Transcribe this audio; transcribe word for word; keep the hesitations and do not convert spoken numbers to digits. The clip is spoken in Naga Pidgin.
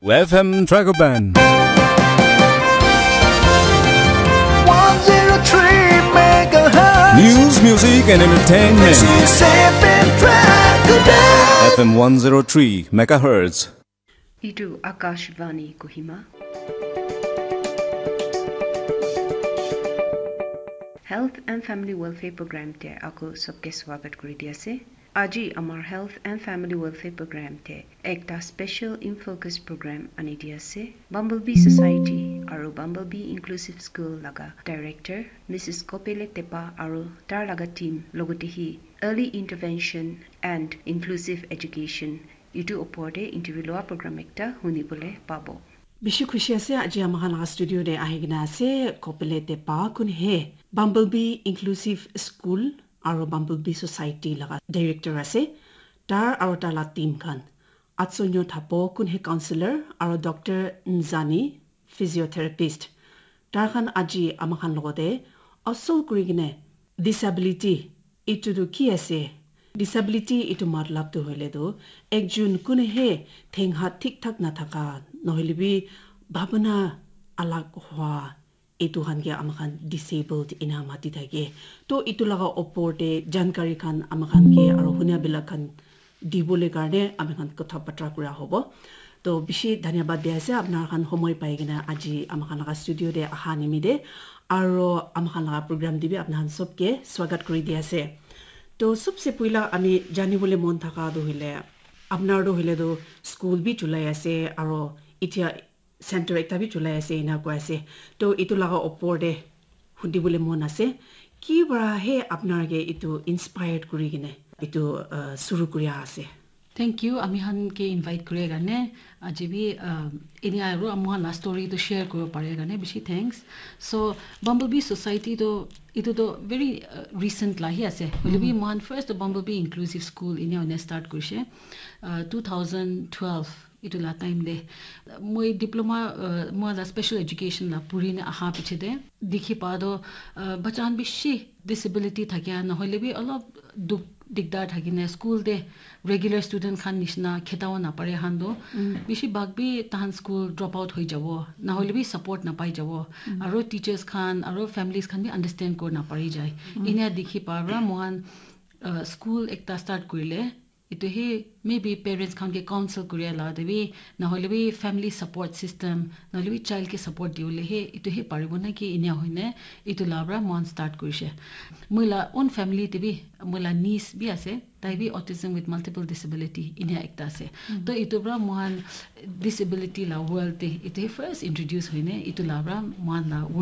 F M Dragoban. one zero three megahertz. News, music, and entertainment. This is F M Dragoban. F M one zero three megahertz. Idu Akashvani Kohima. Health and Family Welfare Program te ako sabke swagat kuri di ase. Aji amar Health and Family Welfare Program te ekta special in focus program ani di ase. Bumblebee Society aru Bumblebee Inclusive School laga director Missus Kopele Tepa aru tar laga team logote hi early intervention and inclusive education itu opor te interview loa program ekta huni bole pabo. Bishi khushi ase aji amahan laga studio te ahi kena ase Kopele Tepa kun he Bumblebee Inclusive School aru Bumblebee Society laga director ase, tar aru tar la team khan, Atsonyo Thapo kun he counselor aru Doctor Nzani physiotherapist, tar khan aji amakhan logote asol kuri kena disability itu tu ki ase? Disability itu matlab tu hoile tu ekjun kune he theng hat thik thak nathaka, nohoile bi bhabana alag hua, itu khan ke amakhan disabled ina mati thake. To itu laga opor te jankari khan amakhan ke aro hunia bilak khan dibole karne ami khan kotha batra kura hobo. To bishi dhanyabad di ase apnar khan homoi pai kena aji ama khan laga studio te aha nimite, aro ama khan laga program te bi apnar khan sob ke swagat kuri di ase. To sobse puila ami jani bole mon thaka tu hoile apnar tu hoile tu school bi chulai ase aro itia center ekta bi chulai ase ena koi ase. To itu laga opor te hudi bole mon ase ki para he apnar ke itu inspired kuri kena itu uh, suru kuri ase? Thank you, ami khan ke invite kure karne. Aji bi uh, ini aru ami khan la story to share kuri pare karne bishi thanks. So Bumblebee Society to itu to very uh, recent la hi ase. Hoile bi mohan first to Bumblebee Inclusive School ini one start kurise uh, two thousand twelve itu la time de. Moi diploma uh, moi la special education la puri ne aha piche de dikhi pa do uh, bacha khan bishi disability thakia na hoile bi olop duk dikdar thakine school de regular student khan nishina khetawo napare khan do bishi bhag bi tahan school drop out hoi jabo na hoile bi support napai jabo, aro teachers khan aro families khan bi understand kor napari jai. Inia dikhi pa ra mohan uh, school ekta start kurile itu he maybe parents khan ke counsel kuria la de bi na hoile bi family support system na hoile bi child ke support diwole he itu he paribo na ki inia hoine itu la pra mohan start kurise. Moi la own family te bi moi la niece bi ase, tai bi autism with multiple disability inia ekta ase. To itu pra mohan disability la world te itu he first introduce hoine itu la pra mohan la world